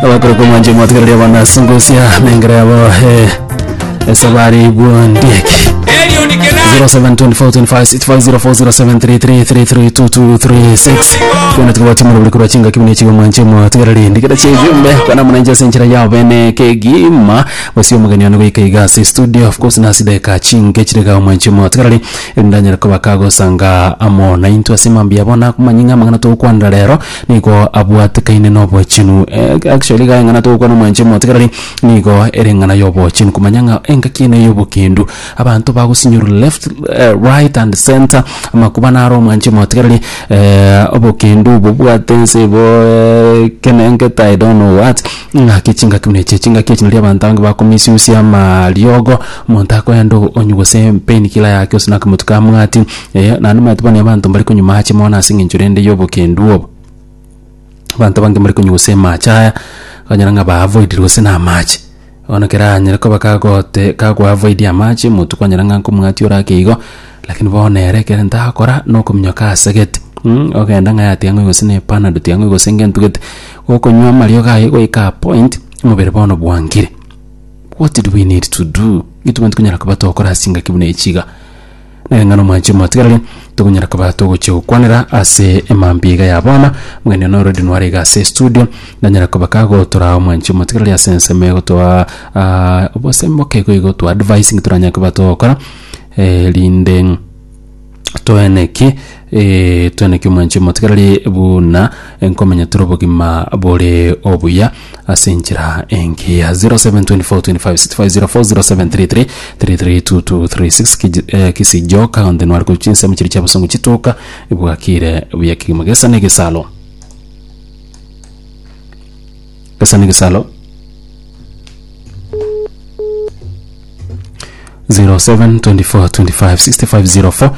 Abakore komwancha omwatigereria abana sungusia nengera yabo eh, esabari bwondieki 07242565040733332236 kona tikubatimura buri korwa chingaki buna echigo mwanche mwatigereri ndigera chiejumbe kwana muna ase enchera yao bene kegima gose omogeni one goika iga ase studio of course nase dakika chinke chirega omwanche mwatigereri ndanyara koba kagosanga amo naintwe ase mambia bono akomanya ng'a amang'ana togokwanera rero Nigo abwatekaine nobochenu. Actually iga eng'ana togokwana omwanche omotigarari nigo ere eng'ana y'obochenu komanya ng'a engaki ene y'obokendu abanto bagosinyorwa left right and center amakuba naro omwanche omotigarari obokendu bobwate ense bo ekenengete I don't know what ng'aki chingaki buna echi chingaki echi nario abanto abange bakomisusia amariogo omonto akoenda onywe gose pain killer yake gose na akamotu kamwati. Ee, naende omanyete bono abanto mbare konywa maache mono ase eng'encho rende y'obokendu obo. Abanto abange mbare konywa gose amache aya, okonyora ng'a ba avoidire gose na amache. Bono ekero anyare koba kagote kago avoid amache, omonto kwanyora ng'a nkomwatia ore ake igo, lakini bono ere ekere ntakora, na okominyoka asegete ogenda ng'a yatiga ng'oi gose na epanado tiga ng'oi gose ngento gete, gokonywa amariogo aye goika a point, omobere bono bwangire. What do we need to do? Intwe tobwenerete konyara koba togokora ase chingaki buna echi iga. Nere ng'a nomwanchi omotigareri, tokonyara koba togochia gokwanera ase emambia iga ya bono, omogeni one already nware iga ase estudio, nanyara koba kagotoraa omwanchi omotigareri ase ensemo egotoa obosemi boke igo igo to advise ng'a toranyare koba togokora, erinde toeneki toeneki omwanchi omotigareri buna nkomenya tore obogima bore obuya. Ase enchera engiya 0724256504 0733332236 Kiji- eh, Kisijoka onde nware korwa chinsemo chiria chia bosongo chitoka bwakire buya kegima gesa na egesalo gesa na egesalo 0724256504.